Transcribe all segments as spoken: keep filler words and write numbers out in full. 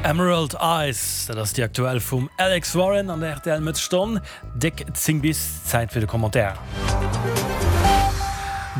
Emerald Eyes, dat ass déi aktuell vum Alex Warren an der R T L Mëttesstonn. Déck zéng bis, Zäit fir de Commentaire.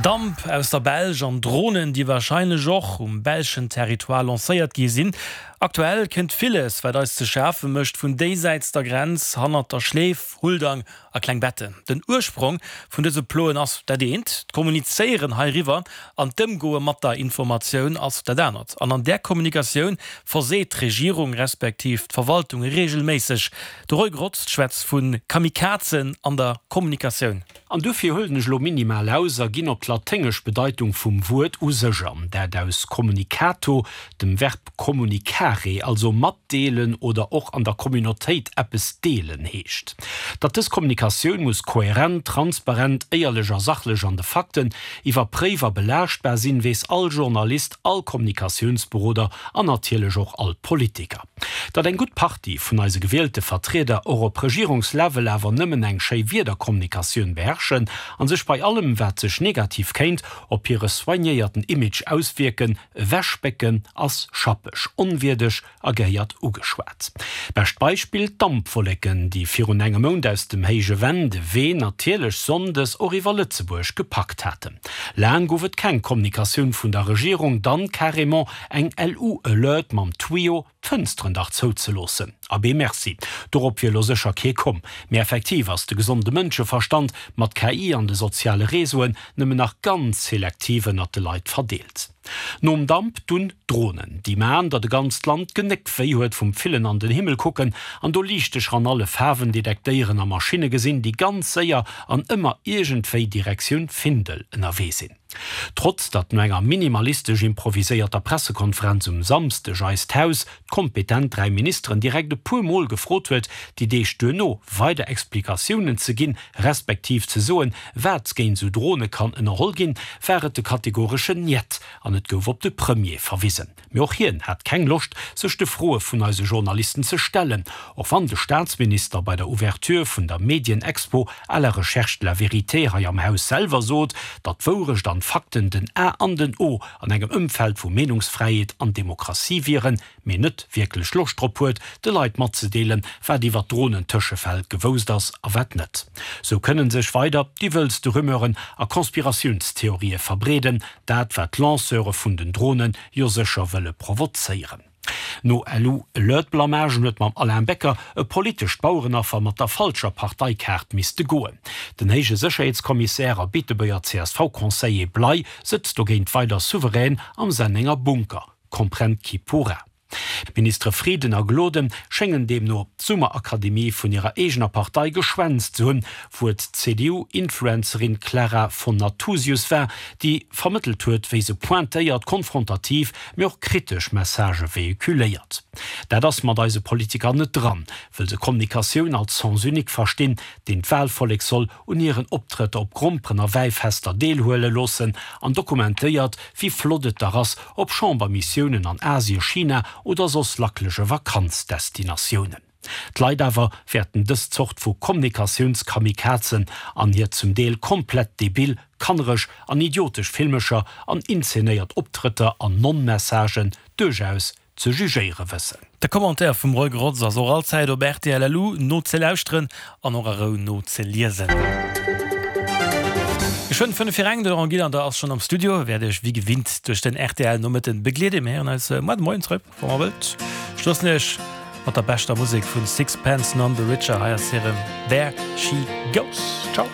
Damp aus der Belsch an Dronen, déi warscheinlech och um belschen Territoire lancéiert gi sinn. Aktuell kënnt villes, wat eis ze schafe mécht, vun déisäits der Grenz, hannert der Schleef, Huldang a Klengbetten. Den Ursprong vun dëse Ploen ass dat eent, d'Kommunizéieren heiriwwer an d'Ëmgoe mat der Informatioun ass dat anert. An an där Kommunikatioun verseet d'Regierung respektiv d'Verwaltung reegelméisseg. De Roy Grotz schwätzt vu Kamikazen an der Kommunikatioun. An dofir huelen ech lo minimal aus a ginn op d'laténgesch Bedeitung vum Wuert u sech an, dat aus communicato, dem Verb communicare, also matdeelen oder och an der Communautéit eppes deelen heescht. Datt dës Kommunikatioun muss kohärent, transparent, éierlech a sachlech an de Fakten iwwerpréif a belaaschtbar sinn, weess all Journalist, all Kommunikatiounsberoder an natierlech och all Politiker. Datt eng gutt Partie vun eise gewielte Vertrieder och op Regierungslevel awer nëmmen eng schéi Wierderkommunikatioun beherrschen an sech bei allem, wat sech negativ kéint op hire soignéierten Image auswierken, ewechbécken, ass schappeg, onwierdeg a gehéiert ugeschwat. Bescht Beispill, d'Dampwolleken, déi virun engem Mount aus dem Héije Venn de Wee natierlech sonndes och iwwer Lëtzebuerg gepackt haten. Laang gouf et keng Kommunikatioun vun der Regierung, dann carrément eng L U-Alert mam Tuyau, d'Fënsteren dach zouzeloossen. Abee merci, dorop wier lo sécher kee komm. Mee effektiv ass de gesonde Mënscheverstand mat K I an de soziale Reseauen nëmmen nach ganz selektiv ënnert de Leit verdeelt. Nom Damp dunn d'Dronen, déi maan, datt e ganzt Land d'Genéck wéi huet vum villen an den Himmel kucken an do Liichtecher an alle Faarwen detektéieren a Maschinne gesinn, déi ganz séier an ëmmer iergendwéi Direktioun Findel ënnerwee sinn. Trotz datt no enger minimalistesch improviséierter Pressekonferenz um Samsdeg eist Haus d'kompetent dräi Ministeren direkt e puer Mol gefrot huet, déi Deeg duerno weider Explikatiounen ze ginn, respektiv ze soen, wat géint sou Drone kann ënnerholl ginn, war et de kategoreschen Njet an et gouf op de Premier verwisen. Mee och hien hat keng Loscht, sech de Froe vun eise Journalisten ze stellen, och wann de Staatsminister bei der Ouverture vun der Medienexpo À la recherche de la vérité hei am Haus selwer sot, datt d'Wourecht an d'Fakten den A an den O an engem Ëmfeld vu Meenungsfräiheet an Demokratie wieren, mee net wierklech Loscht drop huet, de Leit matzedeelen, wat iwwer d'Dronen-Tëschefäll gewousst ass a wat net. Sou kënnen sech weider déi wëllste Rumeuren a Konspiratiounstheorië verbreeden, dat wat d'Lanceure vun den Dronen jo sécher wëlle provozéieren. No L U-Alert-Blamagen huet mam Alain Becker e politescht Bauerenaffer mat der falscher Parteikaart misste goen. Den héije Sécherheetskommissär a Beetebuerger C S V-Conseiller Bley sëtzt dogéint weider souverän am Sennenger Bunker. Comprenne qui pourra. D'Ministere Frieden a Gloden schéngen deemno d'Summerakademie vun hirer eegener Partei geschwänzt ze hunn, wou et d'C D U-Influencerin Clara von Nathusius war, déi vermëttelt huet, wéi se pointéiert, konfrontativ, mee och kritesch Messagë vehiculéiert. Dat ass mat eise Politiker net dran, wëll se Kommunikatioun als Sens unique verstinn, deen d'Wahlvollek soll un hiren Optrëtter op Gromperen a Wäifester deelhuele loossen, an dokumentéiert, wéi flott et dach ass op Chambermissiounen an Asien, China oder soss lackelege Vakanzdestinatiounen. D'Leit awer wäerten dës Zort vu Kommunikatiounskamikazen an hir zum Deel komplett debil, kannereg an idiotesch Filmecher an inzenéiert Optrëtter an Non-Messagen duerchaus ze jugéiere wëssen. De Commentaire vum Roy Grotz ass och allzäit op R T L L U nozelauschteren an och a Rou nozeliesen. Geschwënn fënnef vir eng, de Laurent Gillander ass schonn am Studio, wäert iech wéi gewinnt duerch den R T L Nomëtten begleeden. Mir héieren eis muer de Moien zréck, wa mer wëllt. Ech loossen iech mat der beschter Musek vun Sixpence None the Richer. Hei ass hirem There She Goes. Ciao.